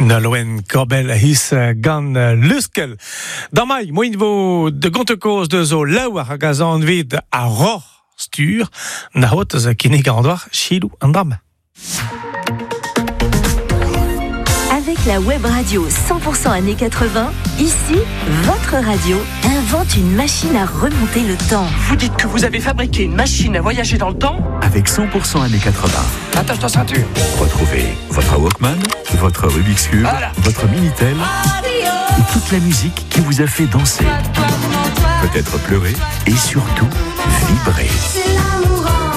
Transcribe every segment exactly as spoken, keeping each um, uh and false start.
Nolwenn Korbell his gant Luskel. Damai, moin vo de gontekoz de zo laouar hag a zan vid a roc'h stur, na hot eus kinnig an doar chilou an dram. Avec la web radio cent pour cent années quatre-vingts, ici, votre radio invente une machine à remonter le temps. Vous dites que vous avez fabriqué une machine à voyager dans le temps ? Avec cent pour cent années quatre-vingts. Attache ta ceinture. Retrouvez votre Walkman, votre Rubik's Cube, voilà. Votre Minitel et toute la musique qui vous a fait danser, peut-être pleurer et surtout vibrer.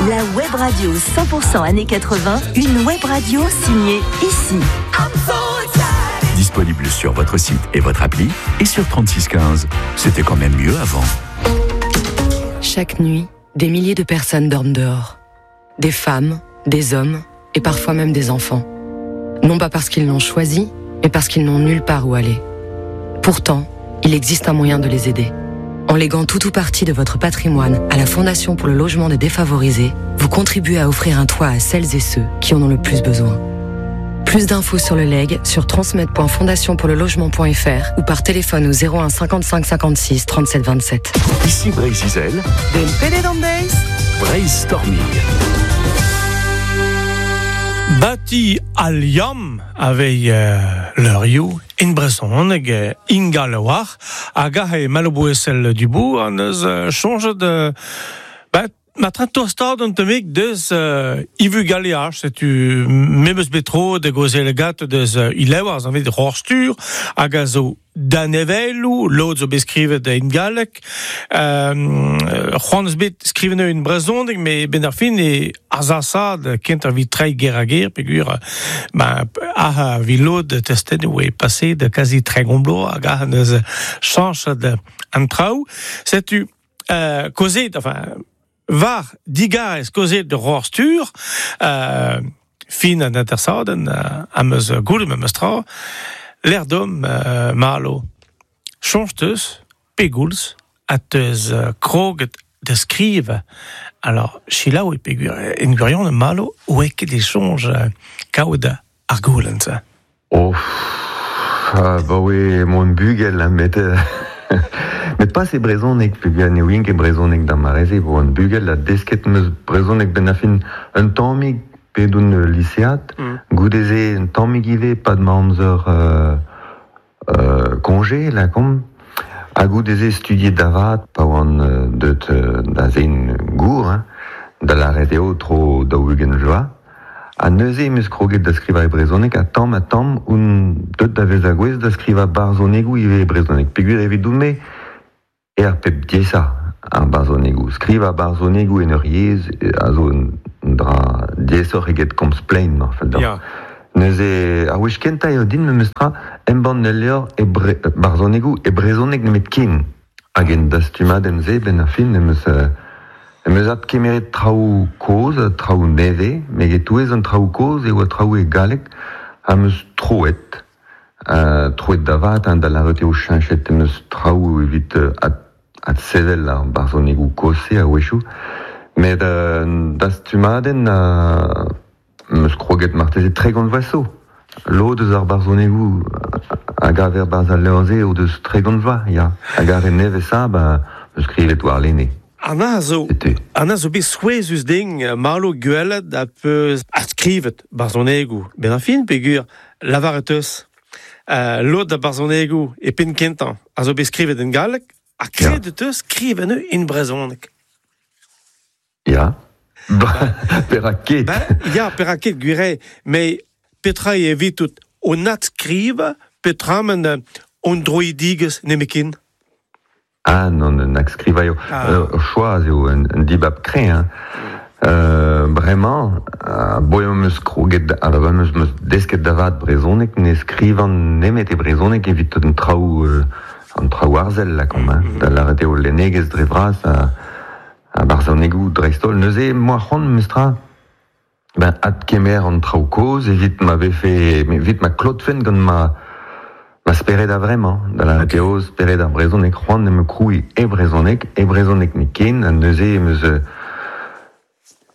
La web radio cent pour cent années quatre-vingts, une web radio signée ici. Disponible sur votre site et votre appli et sur trente-six quinze. C'était quand même mieux avant. Chaque nuit, des milliers de personnes dorment dehors. Des femmes, des hommes et parfois même des enfants. Non pas parce qu'ils l'ont choisi, mais parce qu'ils n'ont nulle part où aller. Pourtant, il existe un moyen de les aider. En léguant tout ou partie de votre patrimoine à la Fondation pour le logement des défavorisés, vous contribuez à offrir un toit à celles et ceux qui en ont le plus besoin. Plus d'infos sur le legs sur transmettre point fondation pour le logement point F R ou par téléphone au zéro un cinquante-cinq cinquante-six trente-sept vingt-sept. Ici Breizh Izel, Brainstorming. Bati al liam avei euh, leurioù in brezhoneg euh, ingal war hag ahe malobouesel du bout an eus euh, chonjet euh, ba, ma train tostad an temik deus euh, ivu galeach, setu memeus betro de gozel gat deus euh, ilewar an vet rorstur hag a zo danevelou, lod zo beskrivet in galek, euh, c'hoant eus bet skriven in brezhoneg, me ben ar fin e azasad kent ar vit trei ger a ger, pegur, ben, ah, vi lod testen oe passé de quasi tregont blo, hag ah neus chanch de an traoù. Setu, euh, kozet, enfin, var digarez kozet de rorstur, euh, fin an intersaden, euh, am eus goude meus tra, l'air d'homme euh, malo change teus pegoulz a teus euh, kroget de skrive. Alors chilaou e pegur en gurion malo oe ket e chonj euh, kaout ar goulenn. Oh, ah, ba oe mon bugel met euh, met pas e brezhoneg pegur ne oin ket brezhoneg d'ar mareze bo an bugel a desket meus brezhoneg ben a fin un tammig pedoun lycéat, mm. goudeze un tammig ivez pad ma amzer euh, euh, congé la kom ha goudeze studiet davat pa oan euh, deut euh, da zein gour hein, da la eo tro daou-ugent vloaz ha neuze em eus kroget da skrivañ e brezhoneg ha tamm ha tamm on deut da vezañ gouez da skrivañ barzhonegoù ivez e brezhoneg peogwir evidoun-me e ar pep diaesañ ar barzhonegoù skrivañ barzhonegoù en ur yezh a zo un dra diaesoc'h eget komz plaen mar fell deoc'h. Ya. Neuze ar wech kentañ eo din memes tra embann ul levr e bre-, barzhonegoù e brezhoneg nemet ken. Hag en dastumadenn-se ben ar fin em eus, euh, em eus adkemeret traoù kozh, traoù nevez, met e-touez an traoù kozh e oa traoù e galleg am eus troet. Euh, troet da vat, hein, da lavaret eo cheñchet em eus traoù evit, euh, ad-, adsevel ar barzhonegoù kozh-se a-wechoù. Met euh, dastumadenn euh, em eus kroget marteze tregont vloaz zo. Lod eus ar barzhonegoù hag aver barzh al levr-se o deus tregont vloaz, ya. Hag ar re nevez-sa, ba, em eus skrivet war lene. An a zo, Setu. an a zo bet souezhus ding malo gwelet a peus adskrivet barzhonegoù. Ben ar fin peogwir lavaret eus, euh, lod da barzhonegoù e penn kentañ a zo bet skrivet en galleg, ha kredet eus skriven eo en brezhoneg. Ya. Ba, perak ket. Ba, ya, perak ket, gwir eo, met petra eo evitout on adskriva, petra men, euh, on droidigez nemekin? Ah, non, un adskriva eo. Ah. Euh, choaz eo un, un dibab kreñv, hein. Euh, bremañ, a boe am eus kroget, a ba am eus meus desket da vat brezhoneg, ne skrivan nemet e brezhoneg evit an traoù, euh, an traoù arzel, lakaomp, hein. Mm-hmm. Da lavaret eo lennegezh dre vras, a, a barzhonegoù dreist-holl. Neuze, moa c'hoant meus tra, ben, adkemer an traoù kozh evit ma vefe, evit ma klotfen gant ma, ma spered a vremañ, da lavaret Ok. eo spered ar brezhoneg, c'hoant em eus krouiñ e brezhoneg, e brezhoneg nemetken, ha neuze em eus, euh,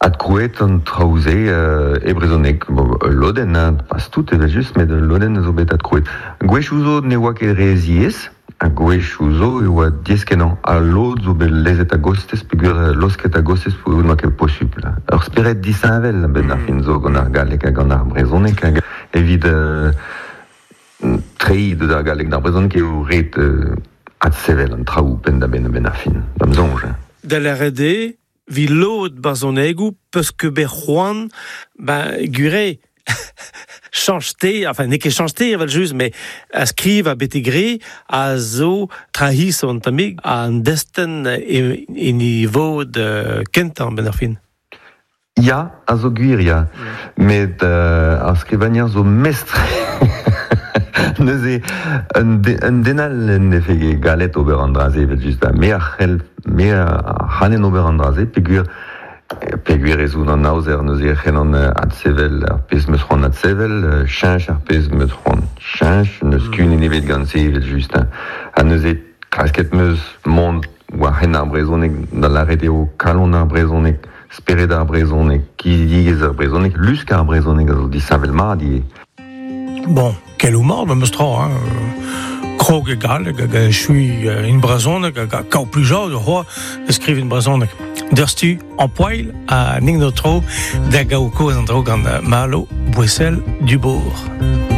Adkrouet an traoù-se euh, e brezhoneg. Bon, lodenn, hein, pas tout evel just, met lodenn zo bet adkrouet. Gwech zo ne oa ket re ziez, ha gwech zo e oa diez kenañ. Ha lod zo bet lezet a gostez, peogwir losket a gostez peogwir n'oa ket posupl. Ur spered disheñvel ben ar fin zo gant ar galleg hag gant ar brezhoneg hag evit euh, treiñ deus ar galleg d'ar brezhoneg eo ret euh, adsevel an traoù penn da benn ben ar fin, da'm soñj. Da lâret eo, vi lod barzhonegoù peus ket bet c'hoant, ben, gure, chanch te, enfin, n'eo ket chanch te evel just, mais a skriv a bete gre a zo trahis an tammig an destenn e, e niveau de kentañ ben ar fin. Ya, a zo gwir, ya. Met euh, ar skrivagner zo mestr. Neuze, un, de, un den all en defe galet ober an dra-se evel just, me a c'hell, me a c'hallen ober an dra-se, peogwir peogwir ez oun an aozer neuze e c'hellan adsevel ar pezh meus c'hoant adsevel, cheñch ar pezh meus c'hoant cheñch, n'eus mm. kun ebet gant se evel just. Ha neuze klasket meus mont war hen ar brezhoneg, da lâret eo kalon ar brezhoneg, spered ar brezhoneg, kizidigezh ar brezhoneg, lusk ar brezhoneg a zo disheñvel mat ivez. Bon, keloù mat memes tra, hein. Krog e galleg hag chui in brezhoneg hag a kaou plijadur c'hoazh da skriv in brezhoneg. Deus-tu en poil a ning no tro da gaou koz an dro gant Malo Bouessel Dubourg.